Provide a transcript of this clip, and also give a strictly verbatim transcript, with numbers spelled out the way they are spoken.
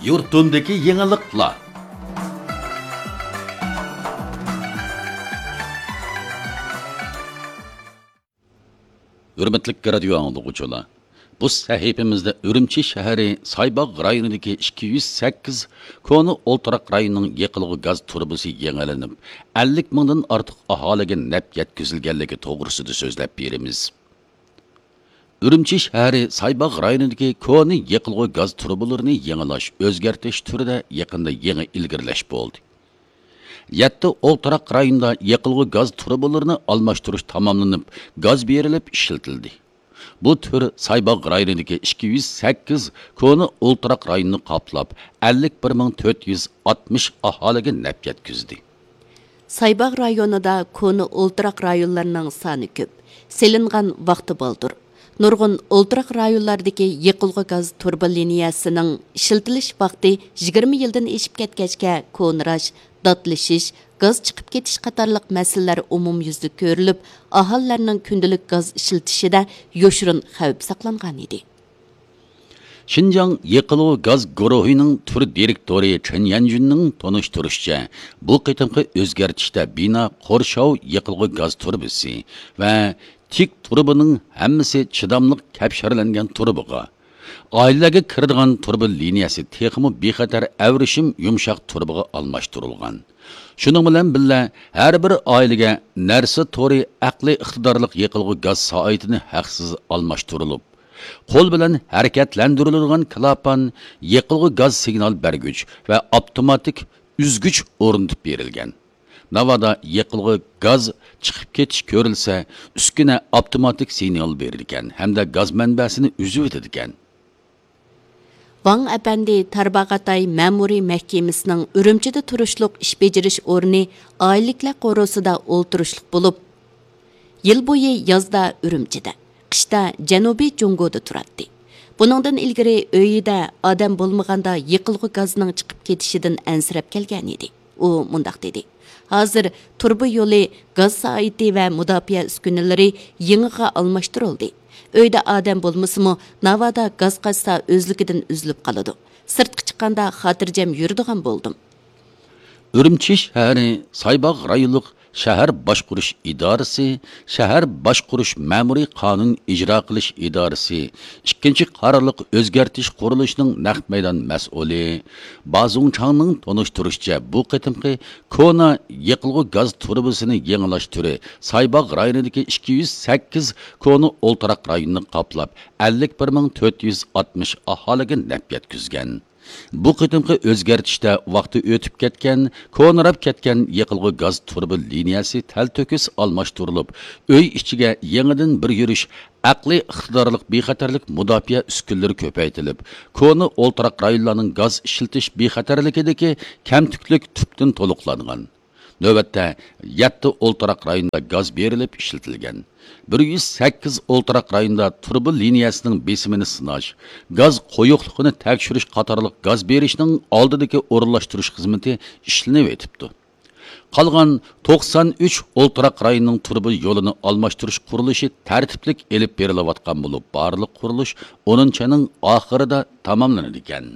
يۇرتۇمدىكى يېڭىلىقلار. ھۆرمەتلىك رادىيو ئاڭلىغۇچىلار، بۇ سەھىپىمىزدە ئۈرۈمچى شەھىرى سايباغ رايونىدىكى ئىككى يۈز سەككىز كونا ئولتۇراق رايوننىڭ يېقىلغۇ گاز تۇرۇبىسى يېڭىلىنىپ، ئەللىك مىڭدىن ئارتۇق ئاھالىگە نەپ يەتكۈزۈلگەنلىكى توغرىسىدا سۆزلەپ بېرىمىز. ئۈرۈمچى شەھىرى سايباغ رايونىدىكى كونا يېقىلغۇ گاز تۇرۇبىلىرىنى يېڭىلاش، ئۆزگەرتىش تۈرىدە يېقىندا يېڭى ئىلگىرىلەش بولدى. يەتتە ئولتۇراق رايوندا يېقىلغۇ گاز تۇرۇبىلىرىنى ئالماشتۇرۇش تاماملىنىپ، گاز بېرىلىپ ئىشلىتىلدى. بۇ تۈر سايباغ رايونىدىكى ئىككى يۈز سەككىز كونا ئولتۇراق رايوننى قاپلاپ، ئەللىك بىر مىڭ تۆت يۈز ئاتمىش ئاھالىگە نەپ يەتكۈزدى. سايباغ رايونىدا كونا ئولتۇراق رايونلارنىڭ سانى كۆپ، سېلىنغان ۋاقتى بالدۇر. نۇرغۇن ئولتۇراق رايونلاردىكى يېقىلغۇ گاز تۇرۇبا لىنىيەسىنىڭ ئىشلىتىلىش ۋاقتى يىگىرمە يىلدىن ئېشىپ كەتكەچكە، كونىراش، داتلىشىش، گاز چىقىپ كېتىش قاتارلىق مەسىلىلەر ئومۇميۈزلۈك كۆرۈلۈپ، ئاھالىلەرنىڭ كۈندىلىك گاز ئىشلىتىشىدە يوشۇرۇن خەۋپ ساقلانغان ئىدى. شىنجاڭ يېقىلغۇ گاز گۇرۇھىنىڭ تۈر دىرېكتورى چېن يەنجۈننىڭ تونۇشتۇرۇشىچە، بۇ قېتىمقى ئۆزگەرتىشتە بىنا قورشاۋ يېقىلغۇ گاز تۇرۇبىسى ۋە تىك تۇرۇبىنىڭ ھەممىسى چىداملىق كەپشەرلەنگەن تۇرۇبىغا، ئائىلىلەرگە كىرىدىغان تۇرۇبا لىنىيەسى تېخىمۇ بىخەتەر ئەۋرىشىم يۇمشاق تۇرۇبىغا ئالماشتۇرۇلغان. شۇنىڭ بىلەن بىللە، ھەر بىر ئائىلىگە نەرسە تورى ئەقلىي ئىقتىدارلىق يېقىلغۇ گاز سائىتىنى ھەقسىز ئالماشتۇرۇلۇپ، قول بىلەن ھەرىكەتلەندۈرۈلىدىغان كىلاپان، يېقىلغۇ گاز سىگنال بەرگۈچ ۋە ئاپتوماتىك ئۈزگۈچ ئورنىتىپ بېرىلگەن. ناۋادا يېقىلغۇ گاز چىقىپ كېتىش كۆرۈلسە، ئۈسكۈنە ئاپتوماتىك سىگنال بېرىدىكەن ھەمدە گاز مەنبەسىنى ئۈزۈۋېتىدىكەن. ۋاڭ ئەپەندى تارباغاتاي مەمۇرىي مەھكىمىسىنىڭ ئۈرۈمچىدە تۇرۇشلۇق ئىش بېجىرىش ئورنى ئائىلىلىكلەر قورۇسىدا ئولتۇرۇشلۇق بولۇپ، يىل بويى يازدا ئۈرۈمچىدە، قىشتا جەنۇبىي جۇڭگودا تۇراتتى. بۇنىڭدىن ئىلگىرى ئۆيىدە ئادەم بولمىغاندا يېقىلغۇ گازنىڭ چىقىپ كېتىشىدىن ئەنسىرەپ كەلگەنىدى. ئۇ مۇنداق دېدى: «ھازىر تۇرۇبا يولى، گاز سائىتى ۋە مۇداپىئە ئۈسكۈنىلىرى يېڭىغا ئالماشتۇرۇلدى. ئۆيدە ئادەم بولمىسىمۇ، ناۋادا گاز قاچسا ئۆزلۈكىدىن ئۈزۈلۈپ قالىدۇ. سىرتقا چىققاندا خاتىرجەم يۈرىدىغان بولدۇم.» ئۈرۈمچى شەھىرى سايباغ رايونلۇق شەھەر باشقۇرۇش ئىدارىسى شەھەر باشقۇرۇش مەمۇرىي قانۇن ئىجرا قىلىش ئىدارىسى ئىككىنچى قارارلىق ئۆزگەرتىش قۇرۇلۇشىنىڭ نەق مەيدان مەسئۇلى با زۇڭچاڭنىڭ تونۇشتۇرۇشىچە، بۇ قېتىمقى كونا يېقىلغۇ گاز تۇرۇبىسىنى يېڭىلاش تۈرى سايباغ رايونىدىكى ئىككى يۈز سەككىز كونا ئولتۇراق رايوننى قاپلاپ، ئەللىك بىر مىڭ تۆت يۈز ئاتمىش ئاھالىگە نەپ يەتكۈزگەن. بۇ قېتىمقى ئۆزگەرتىشتە ۋاقتى ئۆتۈپ كەتكەن، كونىراپ كەتكەن يېقىلغۇ گاز تۇرۇبا لىنىيەسى تەلتۆكۈس ئالماشتۇرۇلۇپ، ئۆي ئىچىگە يېڭىدىن بىر يۈرۈش ئەقلىي ئىقتىدارلىق بىخەتەرلىك مۇداپىئە ئۈسكۈنىلىرى كۆپەيتىلىپ، كونا ئولتۇراق رايونلارنىڭ گاز ئىشلىتىش بىخەتەرلىكىدىكى كەمتۈكلۈك تۈپتىن تولۇقلانغان. نۆۋەتتە، يەتتە ئولتۇراق رايوندا گاز بېرىلىپ ئىشلىتىلگەن. بىر يۈز سەككىز ئولتۇراق رايوندا تۇرۇبا لىنىيەسىنىڭ بېسىمىنى سىناش، گاز قويۇقلۇقىنى تەكشۈرۈش قاتارلىق گاز بېرىشنىڭ ئالدىدىكى ئورۇنلاشتۇرۇش خىزمىتى ئىشلىنىۋېتىپتۇ. قالغان توقسان ئۈچ ئولتۇراق رايوننىڭ تۇرۇبا يولىنى ئالماشتۇرۇش قۇرۇلۇشى تەرتىپلىك ئېلىپ بېرىلىۋاتقان بولۇپ، بارلىق قۇرۇلۇش ئونىنچى ئاينىڭ ئاخىرىدا تاماملىنىدىكەن.